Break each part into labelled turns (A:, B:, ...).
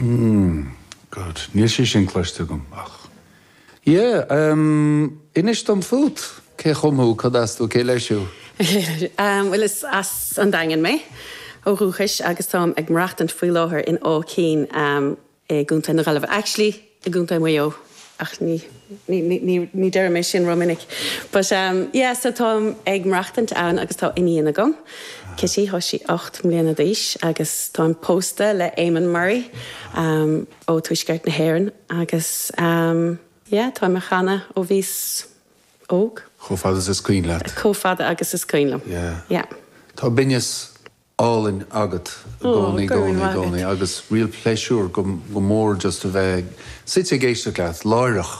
A: God, níl sé sin cloiste agam ach. Yeah, um, inis dom fút, cé chum thú, cad as tú, cé leis thú?
B: Bhuel, is as an Daingean mé ó dhúchais agus táim ag maireachtaint faoi láthair in Áth Cinn i gContae na Gaillimhe. Actually, i gContae Mhaigh Eo, ach ní, ní, ní, ní deirim é sin rómhinic. But, yeah, so táim ag maireachtaint ann agus tá iníon agam, Kitty, tá sí 8 mbliana d'aois agus táim pósta le Eamon Murray ó Tuaisceart na hÉireann agus, yeah, táim ag canadh ó bhíos óg.
A: Chomh fada is is cuimhin leat.
B: Chomh fada agus is cuimhin liom.
A: Yeah.
B: Yeah.
A: Tá binneas álainn agat i gcónaí, i gcónaí, i gcónaí agus real pléisiúr go mór just a bheith suite ag éisteacht leat láithreach.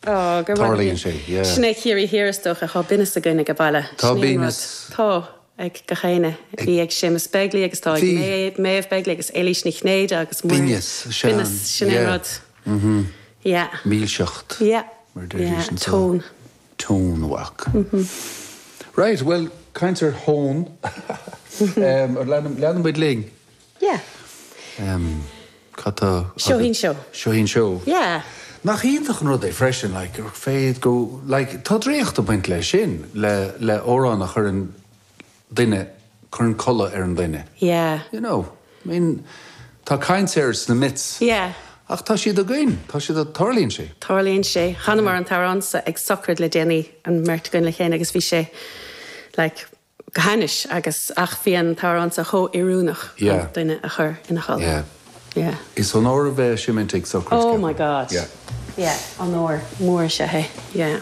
B: Ó, go raibh maith agat.
A: Tarlaíonn sé, yeah.
B: Sin é Ciarraí Thiar is dócha, tá binneas againn ag an baile.
A: Tá binneas.
B: Tá, ag gach éinne. Bhí ag Séamus Begley agus tá ag Méabh Begley agus Éilís Ní Chinnéide agus
A: Muireann. Binneas,
B: sea. Binneas, sin é an rud.
A: Yeah.
B: Yeah.
A: Milseacht.
B: Yeah.
A: Mar a deiridís
B: anseo. Tone.
A: Tone, bhac. Right, bhuel, caint ar thón. Leanann muid linn.
B: Yeah.
A: Cad tá
B: agat? Seo í an seó.
A: Seo í an seó.
B: Yeah.
A: Nach iontach an rud é freisin, like, gur féidir go, like, tá draíocht ag baint leis sin, le, le amhrán a chuireann duine, cuireann codladh ar an duine.
B: Yeah.
A: You know, I mean, tá caint air sna myths.
B: Yeah.
A: Ach tá siad againn, tá siad, tarlaíonn sé.
B: Tarlaíonn sé. Chanamar an t-amhrán seo ag sochraid le déanaí, an mbeirt againn le chéile agus bhí sé like go hainnis agus ach bhí an t-amhrán seo chomh oiriúnach chun duine a chur ina chodladh.
A: Yeah.
B: Yeah.
A: Is onóir a bheith ag seimint ag sochraid,
B: Oh my God.
A: Yeah.
B: Yeah, onóir mór is ea é. Yeah.